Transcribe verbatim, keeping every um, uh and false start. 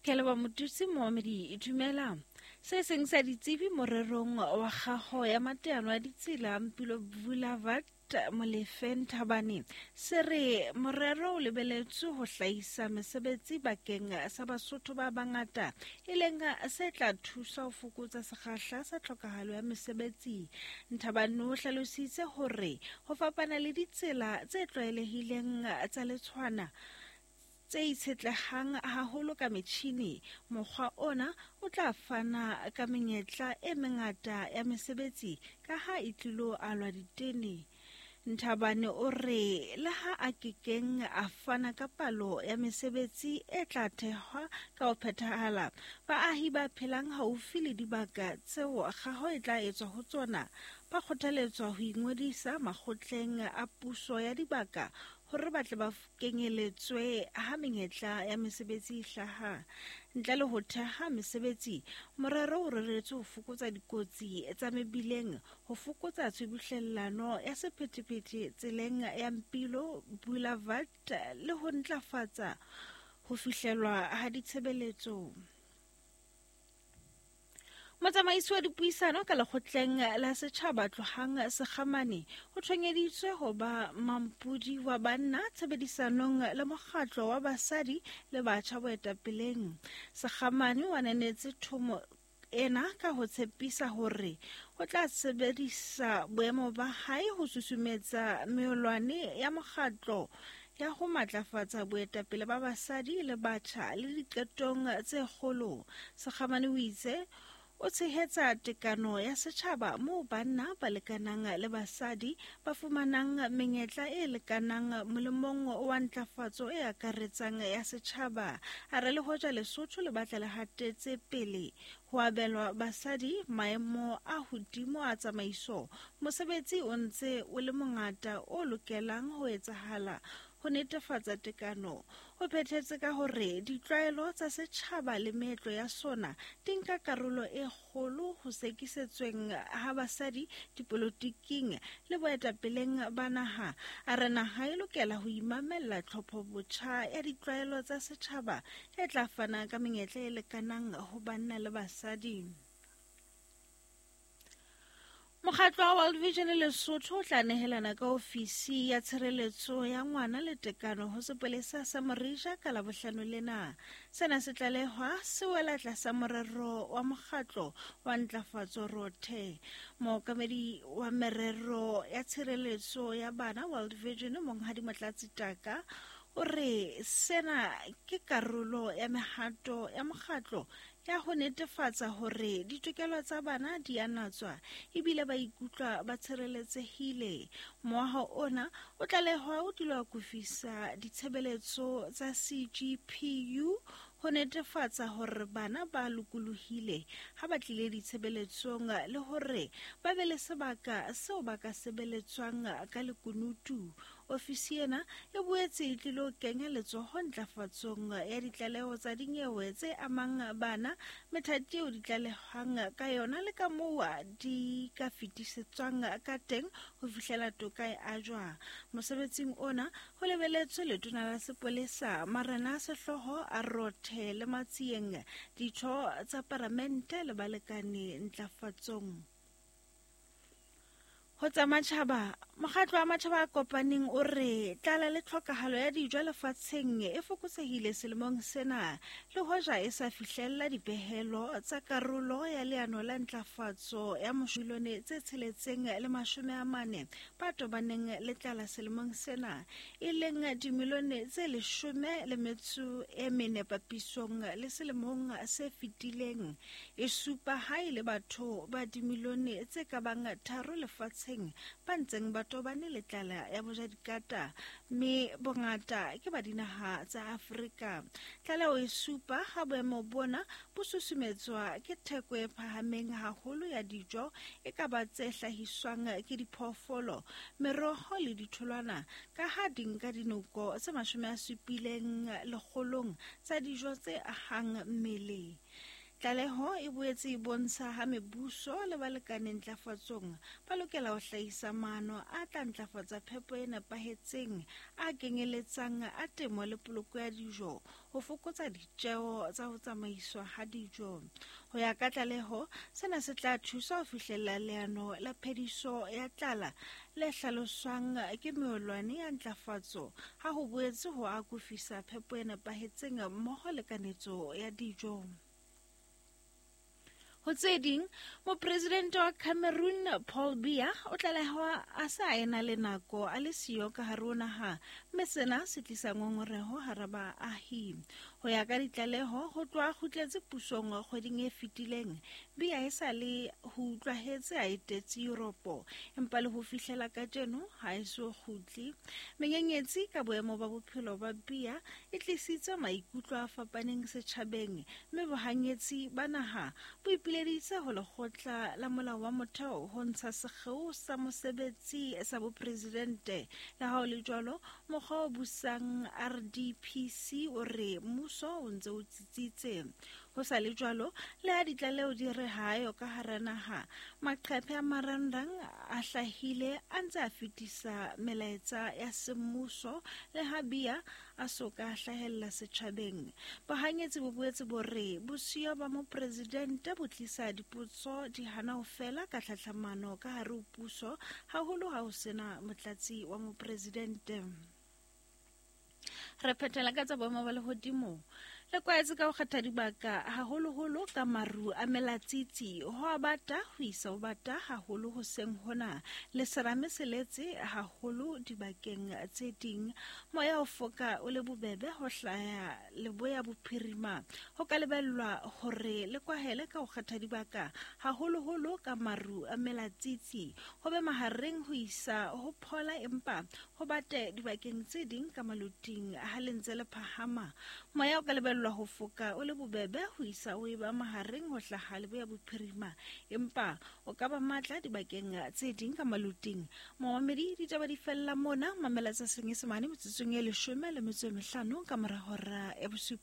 Ke leboha Mothusi Mohamedi dumela. Se seng sa ditsebi morerong wa kgaho ya mateano a ditsela Mpilo Boulevard Molefe Nthabane se re morero o lebeletswe ho hlahisa mesebetsi bakeng sa Basotho ba bangata, e leng se tla thusa ho fokotsa sekgahla sa tlhokahalo ya mesebetsi. Nthabane o hlalositse hore ho fapana le ditsela tse tlwaelehileng tsa letshwana tse itshetlehang haholo ka metjhini, mokgwa ona o tla fana ka menyetla e mengata ya mesebetsi ka ha e tlilo alwa ditene. Nthabane o re le ha a kekeng a fana ka palo ya mesebetsi e tla thehwa ka ho phethahala, baahi ba phelang haufi le dibaka tseo kgaho e tla etswa ho tsona ba kgothaletswa ho ingodisa makgotleng a puso ya dibaka hore ba tle ba kenyeletswe ha menyetla ya mesebetsi e hlaha. Ntle le ho theha mesebetsi, morero o reretswe ho fokotsa dikotsi tsa mebileng, ho fokotsa tshubuhlellano ya sephethephethe tseleng ya Mpilo Boulevard le ho ntlafatsa ho fihlelwa ha ditshebeletso. Motsamaisi wa dipuisano ka lekgotleng la setjhaba Tlohang Sekgamane o thonyeditswe ho ba mampodi wa banna tshebedisanong le mokgatlo wa basadi le batjha boetapeleng. Sekgamane o ananetse thomo ena ka ho tshepisa hore o tla sebedisa boemo ba hae ho susumetsa meolwane ya mokgatlo ya ho matlafatsa boetapele ba basadi le batjha le diqetong tse kgolo. Sekgamane o itse o tshehetsa tekano ya setjhaba moo banna ba lekanang le basadi ba fumanang menyetla e lekanang molemong wa ntlafatso e akaretsang ya setjhaba. A re le hoja Lesotho le batla le hatetse pele ho abelwa basadi maemo a hodimo a tsamaiso, mosebetsi o ntse o le mongata o lokelang ho etsahala ho netefatsa tekano. O phethetse ka hore ditlwaelo tsa setjhaba le meetlo ya sona di nka karolo e kgolo ho sekisetsweng ha basadi dipolotiking le boetapeleng ba naha. A re naha e lokela ho imamella tlhophobotjha ya ditlwaelo tsa setjhaba e tla fana ka menyetla e lekanang ho banna le basadi. Mokgatlo wa World Vision Lesotho o tla nehelana ka ofisi ya tshireletso ya ngwana le tekano ho sepolesa sa Morija ka Labohlano lena. Sena se tlalehwa se wela tlasa morero wa mokgatlo wa ntlafatso Rothe. Mookamedi wa merero ya tshireletso ya bana World Vision Monghadi Motlatsi Taka o re sena ke karolo ya mehato ya mokgatlo ya ho netefatsa hore ditokelo tsa bana di a natswa ebile ba ikutlwa ba tshireletsehile. Moaho ona o tlalehwa o tlilo akofisa ditshebeletso tsa C G P U ho netefatsa hore bana ba lokolohile ha ba tlile ditshebeletsong le hore ba be le sebaka seo ba ka sebeletswang ka lekunutu. Ofisi ena e boetse e tlilo kenya letsoho ntlafatsong ya ditlaleho tsa dinyewe tse amang bana, methati eo di tlalehwang ka yona le ka moo di ka fetisetswang ka teng ho fihlela toka e ajwa. Mosebetsing ona ho lebeletswe letona la sepolesa Marena a Sehlooho a Rothe le Matsieng, ditho tsa paramente le balekane ntlafatsong. Ho tsa matjhaba, mokgatlo wa matjhaba a kopaneng o re tlala le tlhokahalo ya dijo lefatsheng e fokotsehile selemong sena, le hoja e sa fihlella dipehelo tsa karolo ya leano la ntlafatso ya milione tse tsheletseng le mashome a mane ba tobaneng le tlala selemong sena, e leng dimilione tse leshome le metso e mene papisong le selemong se fetileng. E supa ha e le batho ba dimilione tse ka bang tharo lefatsheng ba ntseng ba tobane le tlala ya bojadikata, mme bongata ke ba dinaha tsa Afrika. Tlaleho e supa ha boemo bona bo susumetswa ke theko e phahameng haholo ya dijo, e ka ba tse hlahiswang ke diphoofolo, meroho le ditholwana, ka ha di nka dinoko tse mashome a supileng lekgolong tsa dijo tse ahang mmele. Tlaleho e boetse e bontsha ha mebuso le balekane ntlafatsong ba lokela ho hlahisa maano a tla ntlafatsa phepo e nepahetseng a kenyeletsang a temo le poloko ya dijo ho fokotsa ditjeo tsa ho tsamaiswa ha dijo. Ho ya ka tlaleho, sena se tla thusa ho fihlella leano la phediso ya tlala le hlaloswang ke meolwane ya ntlafatso ha ho boetse ho akofisa phepo e nepahetseng mmoho le kanetso ya dijo. Ho tse ding, mopresidente wa Cameroon Paul Biya o tlalehwa a sa ena le nako a le siyo ka hare ho naha, mme sena se tlisa ngongoreho hara baahi. Ho ya ka ditlaleho, ho tloha a kgutletse pusong kgweding e fetileng, Biya e sa le ho utlwahetse a etetse Yuropo, empa le ho fihlela kajeno ha e so kgutle. Menyenyetsi ka boemo ba bophelo ba Biya e tlisitse maikutlo a fapaneng setjhabeng, mme bohanyetsi ba naha bo ipileditse ho lekgotla la molao wa motheo ho ntsha sekgeo sa mosebetsi sa bopresidente. Le ha ho le jwalo, mokgwa o busang R D P C o re mmuso o ntse o tsitsitse. Ho sa le jwalo, le ha ditlaleho di re ha ayo ka hara naha, maqephe a marangrang a hlahile a ntse a fetisa melaetsa ya semmuso le ha Biya a so ka hlahella setjhabeng. Bohanyetsi bo boetse bo re bosiyo ba mopresidente bo tlisa dipotso di hana ho fela ka tlhahlamano ka hare ho puso, haholo ha ho sena motlatsi wa mopresidente. Re phethela ka tsa boemo ba lehodimo. Le kwaetse ka ho kgetha dibaka haholoholo ka maru a melatsitsi, ho a bata ho isa ho bata haholo hoseng hona, le serame se letse haholo dibakeng tse ding. Moya o foka o le bobebe ho hlaya leboya bophirima. Ho ka lebellwa hore le kwahele ka ho kgetha dibaka haholoholo ka maru a melatsitsi, ho be mahareng ho isa ho phola empa ho bate dibakeng tse ding ka maluting ha le ntse le phahama. Moya o ka lebellwa ho foka o le bobebe ho isa o eba mahareng ho hlaha leboya bophirima, empa o ka ba matla dibakeng tse ding ka maluting. Momamedi, ditaba di fella mona. Mamela tsa Senyesemane metsotsong e leshome le metso e mehlano ka mora hora ya bosupa.